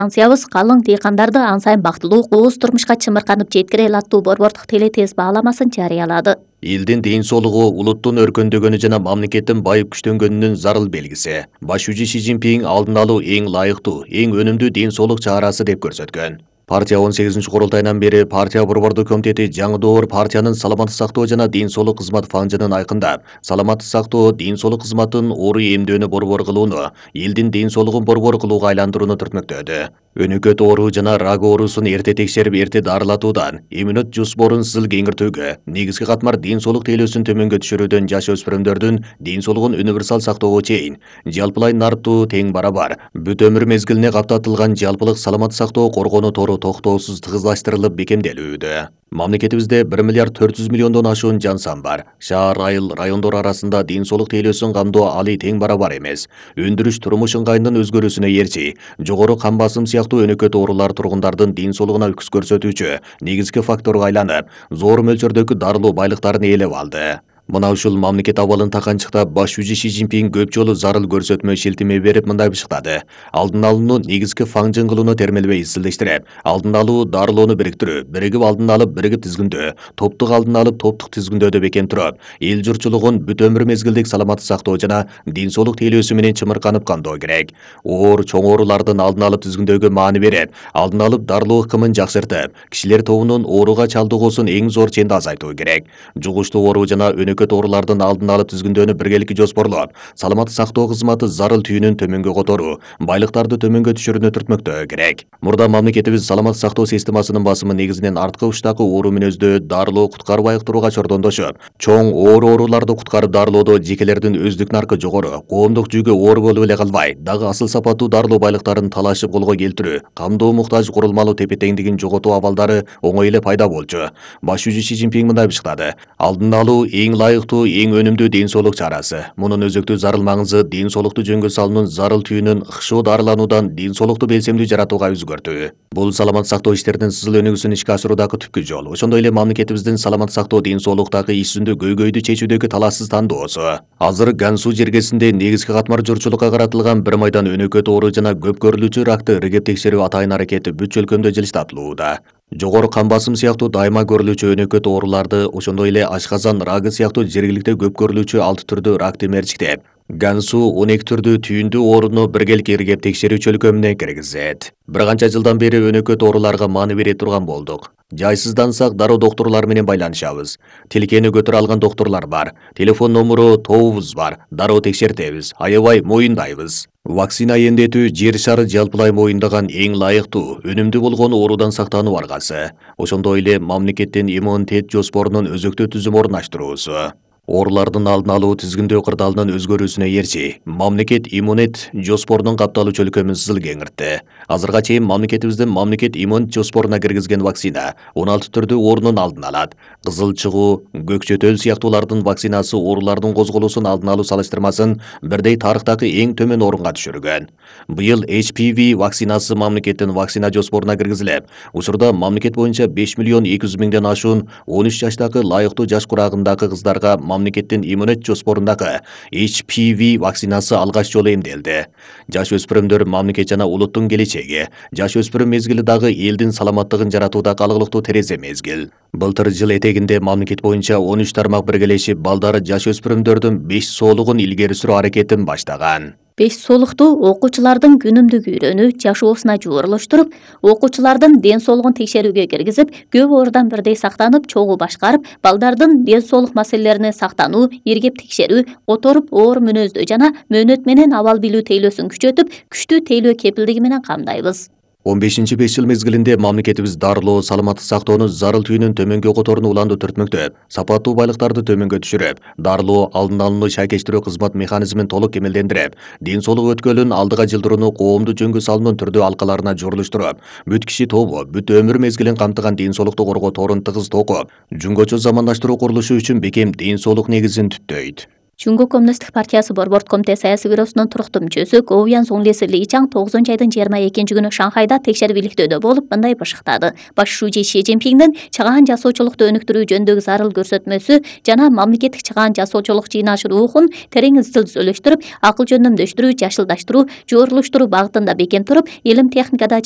Ансыябыз калың дыйкандарды ан сайын бактылуу кооз турмушка чымырканып жеткире алаттуу борбордук телетез бааламасын жарыялады. Элдин ден соолугу улуттун өркөндөгөнү жана мамлекеттин байып күчтөнгөнүнүн зарыл белгиси. Баш жүзү Си Цзиньпин алдын алуу эң лайыктуу, эң өнүмдүү ден соолук чарасы деп көрсөткөн. Партия 18-курултайынан бери партия борбордук комитети жаңы доор партиянын саламаттык сактоо жана ден соолук кызмат фанжынын айкындап, саламаттык сактоо, ден соолук кызматын оору эмдөөнү борбор кылууну, элдин ден соолугун борбор кылууга айландырууну түртмөктөдү. Өнөкөт оору жана рак оорусун эрте текшерип, эрте дарылатуудан, иммунит жоспорун сызыл кеңиртүүгө, негизги катмар ден соолук тейлөөсүн төмөнгө түшүрүүдөн жаш өспүрүмдөрдүн ден соолугун универсал сактоого чейин, жалпылай нарптуу тең барабар, бүт өмүр мезгилине каптатылган жалпылык саламаттык сактоо коргонуу тору токтоосуз тыгызлаштырылып бекемделүүдө. Мамлекетибизде 1 миллиард 400 миллиондон ашуун жан сан бар. Шаар, айыл, райондор арасында ден соолук тейлөөсүн камдоо али тең барабар эмес. Өндүрүш турмуш ыңгайынын өзгөрүүсүнө ээрчи, жогору кан басым сыяктуу өнөкөт оорулар тургундардын ден соолугуна үкүс көрсөтүүчү негизги факторго айланып, зор мөлчөрдөгү дарылуу байлыктарын ээлеп алды. Мына ушул мамлекет абалын таканчыктап, баш жүзү Си Цзиньпин көп жолу зарыл көрсөтмө шилтеме берип мындай бышыктады. Алдын алууну негизги фаңжың кылууну термелбей изилдештирип, алдын алуу дарылоону бириктирүү, биригип алдын алып биригип тизгиндөө, топтук алдын алып топтук тизгиндөөдө бекем туруп, эл журтчулугун бүт өмүр мезгилдик саламаттык сактоо жана ден соолук тейлөөсү менен чымырканып камдоо керек. Оор, чоң оорулардын алдын алып тизгиндөөгө маани берип, алдын алып дарылоо ыкымын жакшыртып, кишилер тобунун ооруга чалдыгуусун эң зор ченде азайтуу керек. Жугуштуу оору жана өнөкөт оорулардын алдын алып тизгиндөөнү биргеликти жоспорлоп, саламаттык сактоо кызматы зарыл түйүнүн төмөнгө которуу, байлыктарды төмөнгө түшүрүүнү түртмөктөө керек. Мурда мамлекетибиз саламаттык сактоо системасынын басымы негизинен арткы учтагы оору мүнөздүү дарылоо куткарып айыктырууга чордондошуп, чоң оор ооруларды куткарып дарылоодо жекелердин өздүк наркы жогору, коомдук жүгү оор болуп эле калбай, дагы асыл сапаттуу дарылоо байлыктарын талашып колго келтирүү, камдоо муктаж курулмалуу тепе-теңдигин жоготуу абалдары оңой эле пайда болчу. Баш жүзү Си Цзиньпин мындай бышыктады. Алдын алуу эң лайыктуу, эң өнүмдүү ден соолук чарасы. Мунун өзөктүү зарыл маңызы ден соолукту жөнгө салуунун зарыл түйүнүн ыкшоо дарылануудан ден соолукту белсемдүү жаратууга өзгөртүү. Бул саламаттык сактоо иштеринин сызыл өнүгүүсүн ишке ашыруудагы түпкү жол. Ошондой эле мамлекетибиздин саламаттык сактоо ден соолуктагы иш жүзүндө көйгөйдү чечүүдөгү талашсыз тандоосу. Азыр Гансу жергесинде негизги катмар журтчулукка каратылган бир майдан өнөкөт оору жана көп көрүлүүчү ракты ыргеп текшерүү атайын аракети бүт чөлкөмдө жылыштатылууда. Жогору кан басым сыяктуу дайыма көрүлүүчү өнөкөт ооруларды, ошондой эле ашказан рагы сыяктуу жергиликте көп көрүлүүчү 6 түрдүү ракты мерчиктеп, Гансу 12 түрдүү түйүндүү ооруну биргеликти иргеп текшерүү чөлкөмүнө киргизет. Бир канча жылдан бери өнөкөт ооруларга маани бере турган болдук. Жайсыздансак дароо доктурлар менен байланышабыз. Тилкени көтөрө алган доктурлар бар. Телефон номуру тобубуз бар. Дароо текшертебиз. Аябай моюндайбыз. Вакцина эмдетүү жер шары жалпылай моюндаган эң лайыктуу, өнүмдүү болгон оорудан сактануу аргасы. Ошондой эле мамлекеттин иммунитет жоспорунун өзөктүү түзүм орнаштыруусу. Оорулардын алдын алуу тизгиндөө кырдаалынын өзгөрүүсүнө ээрчи, мамлекет иммунит жоспорунун капталуу чөлкөмүн сызыл кеңиртти. Азырга чейин мамлекетибиздин мамлекет иммунит жоспоруна киргизген вакцина 16 түрдүү оорунун алдын алат. Кызыл чыгуу, көкчөтөл сыяктуулардын вакцинасы оорулардын козголуусун алдын алуу салыштырмасын бирдей тарыхтагы эң төмөн орунга түшүргөн. Быйыл HPV вакцинасы мамлекеттин вакцина жоспоруна киргизилип, учурда мамлекет боюнча 5 миллион 200 миңден ашуун 13 жаштагы лайыктуу жаш курагындагы кыздарга мамлекеттин иммунит жоспорундагы HPV вакцинасы алгач жолу эмделди. Жаш өспүрүмдөр мамлекет жана улуттун келечеги. Жаш өспүрүм мезгили дагы элдин саламаттыгын жаратууда калгылыктуу терезе мезгил. Былтыр жыл этегинде мамлекет боюнча 13 тармак биргелешип, балдары жаш өспүрүмдөрдүн 5 соолугун илгери сүрүү аракетин баштаган. 5 соолукту окуучулардын күнүмдүк үйрөнүү жашоосуна жуурулуштуруп, окуучулардын ден соолугун текшерүүгө киргизип, көп оорудан бирдей сактанып, чогуу башкарып, балдардын ден соолук маселелерине сактануу, иргеп текшерүү, которуп оор мүнөздүү жана мөөнөт менен абал билүү тейлөөсүн күчөтүп, күчтүү тейлөө кепилдиги менен камдайбыз. 15-5 жыл мезгилинде мамлекетибиз дарылоо, саламаттык сактоонун зарыл түйүнүн төмөнгө которууну уланды түртмөктөп, сапаттуу байлыктарды төмөнгө түшүрүп, дарылоо, алдын алууну шайкештирүү кызмат механизмин толук кемелдендирип, ден соолук өткөлүн алдыга жылдырууну коомдук жөнгө салуунун түрдүү алкаларына журулуштуруп, бүт киши тобу, бүт өмүр мезгилин камтыган ден соолукту коргоо торун тыгыз токуп, жөнгөчө замандаштыруу курулушу үчүн бекем ден соолук негизин түптөйт. Чуңгу Коммунисттик партиясы Борборд комитет саясий бюросунун туруктуу мүчөсү Гоуян Зуңлеси Личаң 9-айдын 22-күнү Шанхайда текшерип өлүктөөдө болуп мындай башыктады. Баш шүүжи Си Цзиньпиңдин чыгаан жасоочулукту өнүктүрүү жөнүндөгү зарыл көрсөтмөсү жана мамлекеттик чыгаан жасоочулук жыйнашы рухун терең изилдөштүрүп, акыл жөндөмдөштүрүү, жашылдаштыруу, жуурулуштуруу багытында бекем туруп, илим техникада